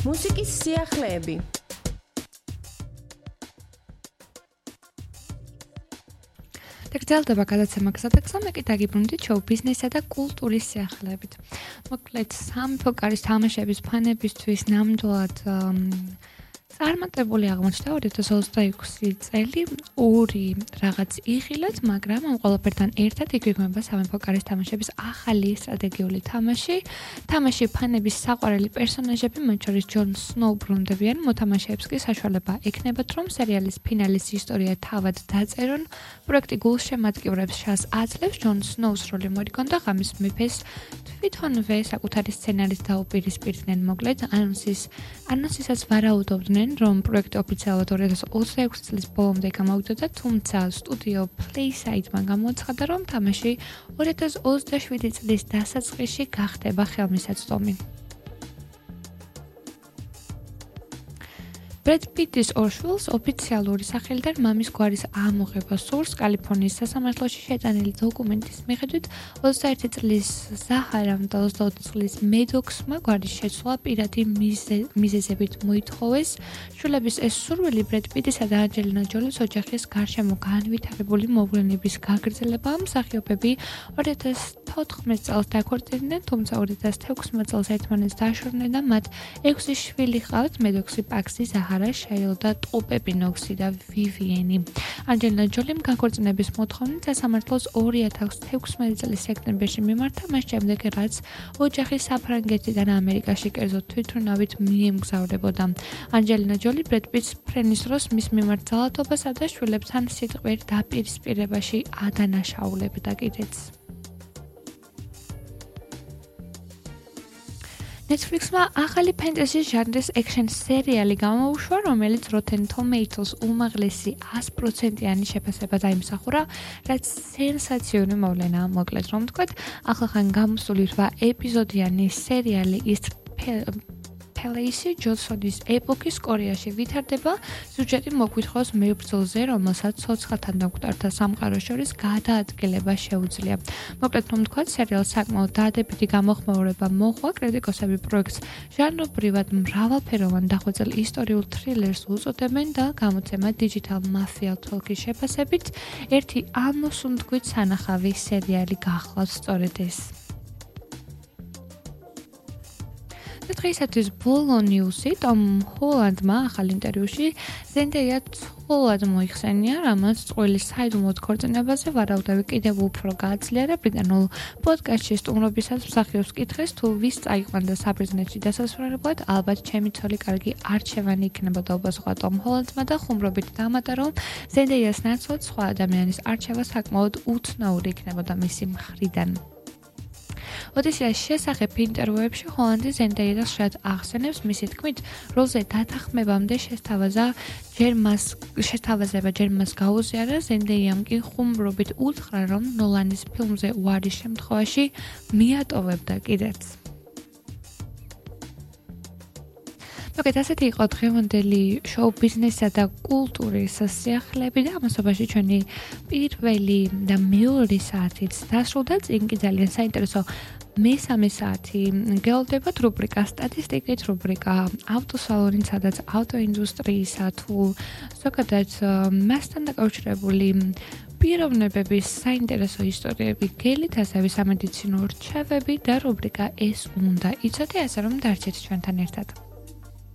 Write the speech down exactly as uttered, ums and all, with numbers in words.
მუსიკის სიახლეები. გრძელდება გადაცემა გზადაგზა, მე კი დაგიბრუნდით შოუ ბიზნესსა და კულტურის სიახლეებით. მოკლედ, სამეფო კარის თამაშების ფანებისთვის ნამდვილად წარმატებული აღმოჩნდა ორი ათას ოცდაექვსი წელი, ორი რაღაც იღილეთ, მაგრამ ამ ყველაფერთან ერთად იგვიგმება სამეფო კარის თამაშების ახალი სტრატეგიული თამაში. თამაში ფანების საყვარელი პერსონაჟები, მათ შორის ჯონ სნოუ ბრუნდებიან, მოთამაშეებს კი საშუალება ექნებათ, რომ სერიალის ფინალის ისტორია თავად დაწერონ. პროექტი გულშემატკივრებს შანსს აძლევს ჯონ სნოუს როლი მოიგონ და ღამის მეფეს თვითონვე საკუთარი სცენარით დაუპირისპირდნენ. მოკლედ, ანონსის ანონსისაც ვარაუდობდნენ, რომ პროექტი ოფიციალურად ორი ათას ოცდაექვსი წლის ბოლომდე გამოვიდოდა, თუმცა სტუდიო Playside-მა გამოაცხადა, რომ თამაში ორი ათას ოცდაშვიდი წლის დასაწყისში გახდება ხელმისაწვდომი. ბრედ პიტის ორ შვილს ოფიციალური სახელიდან მამის გვარის ამოღება სურს. კალიფორნიის სასამართლოში შეტანილი დოკუმენტის მიხედვით ოცდაერთი წლის ზაჰარამ და ოცდაოთხ წლის მედოქსმა გვარის შეცვლა პირადი მიზეზებით მოითხოვეს. შვილების ეს სურვილი ბრედ პიტისა და ანჯელინა ჯოლის ოჯახის გარშემო განვითარებული მოვლენების გაგრძელებაა. მსახიობები ორი ათას თოთხმეტ წელს დაქორწინდნენ, თუმცა ორი ათას თექვსმეტ წელს ერთმანეთს დაშორდნენ და მათ ექვსი შვილი ჰყავთ: მედოქსი, პაქსი, ზაჰარა, შეილ და ტოპები, ნოქსი და ვივიენი. ანჯელინა ჯოლიმ განქორწინების მოთხოვნით სასამართლოს ორი ათას თექვსმეტი წლის სექტემბერში მიმართა, მას შემდეგ რაც ოჯახი საფრანგეთიდან ამერიკაში კერძო თვითმფრინავით მიემგზავრებოდა. ანჯელინა ჯოლი ბრედ პიტს ფრენის დროს მის მიმართ ძალადობასა და შვილებთან სიტყვიერ დაპირისპირებაში ადანაშაულებდა კიდეც. Netflix-მა ახალი ფენტეზის ჟანრის ექშენ სერიალი გამოუშვა, რომელიც Rotten Tomatoes უმაღლესი ას პროცენტიანი შეფასება დაიმსახურა, რაც სენსაციური მოვლენაა. მოკლედ რომ ვთქვათ, ახლახან გამოსული რვა ეპიზოდიანი სერიალი ის Palace ჯონსონის ეპოქის კორეაში ვითარდება. სიუჟეტი მოგვითხრობს მებრძოლზე, რომელსაც ცოცხალთან დამკვდართა სამყაროს შორის გადაადგილება შეუძლია. მოკლედ რომ ვთქვათ, სერიალს საკმაოდ დადებითი გამოხმაურება მოჰყვა. კრიტიკოსები პროექტს ჟანრობრივად მრავალფეროვან დახვეწილ ისტორიულ თრილერს უწოდებენ და გამოცემა Digital Mafia Talk-ის შეფასებით ერთი ამოსუნთქვით სანახავი სერიალი გახლავთ სწორედ ეს. დღეისათვის ბოლო ნიუსი ტომ ჰოლანდმა ახალ ინტერვიუში ზენდეია ცხოველად მოიხსენია, რამაც წყვილი საიდუმლოდ ქორწინებაზე ვარაუდები კიდევ უფრო გააძლიერა. ბრიტანულ პოდკასტში სტუმრობისას მსახიობს კითხეს, თუ ვის წაიყვანდა საბერძნეთში დასასვენებლად, ალბათ ჩემი ცოლი კარგი არჩევანი იქნებოდა, უპასუხა ტომ ჰოლანდმა და ხუმრობით დამატა, რომ ზენდეიას ნაცვლად სხვა ადამიანის არჩევა საკმაოდ უცნაური იქნებოდა მისი მხრიდან. ოდესიას შესახებ ინტერვიუებში ჰოლანდი ზენდეიას ხშირად ახსენებს, მისი თქმით, როლზე დათანხმებამდე შესთავაზა ჯერ მას შესთავაზება ჯერ მას გაუზიარა. ზენდეიამ კი ხუმრობით უთხრა, რომ ნოლანის ფილმზე უარის შემთხვევაში მიატოვებდა კიდეც. მოკლედ, ასეთი იყო დღევანდელი შოუ ბიზნესსა და კულტურის სიახლეები და ამასობაში ჩვენი პირველი და მეორე საათიც დასრულდა. წინ კი ძალიან საინტერესო მესამე საათი გელოდებათ რუბრიკა სტატისტიკით, რუბრიკა ავტოსალონი, სადაც ავტოინდუსტრიისა თუ ზოგადად მასთან დაკავშირებული პიროვნებების საინტერესო ისტორიები გელით, ასევე სამედიცინო რჩევები და რუბრიკა ეს უნდა იცოდე, ასე რომ დარჩეთ ჩვენთან ერთად.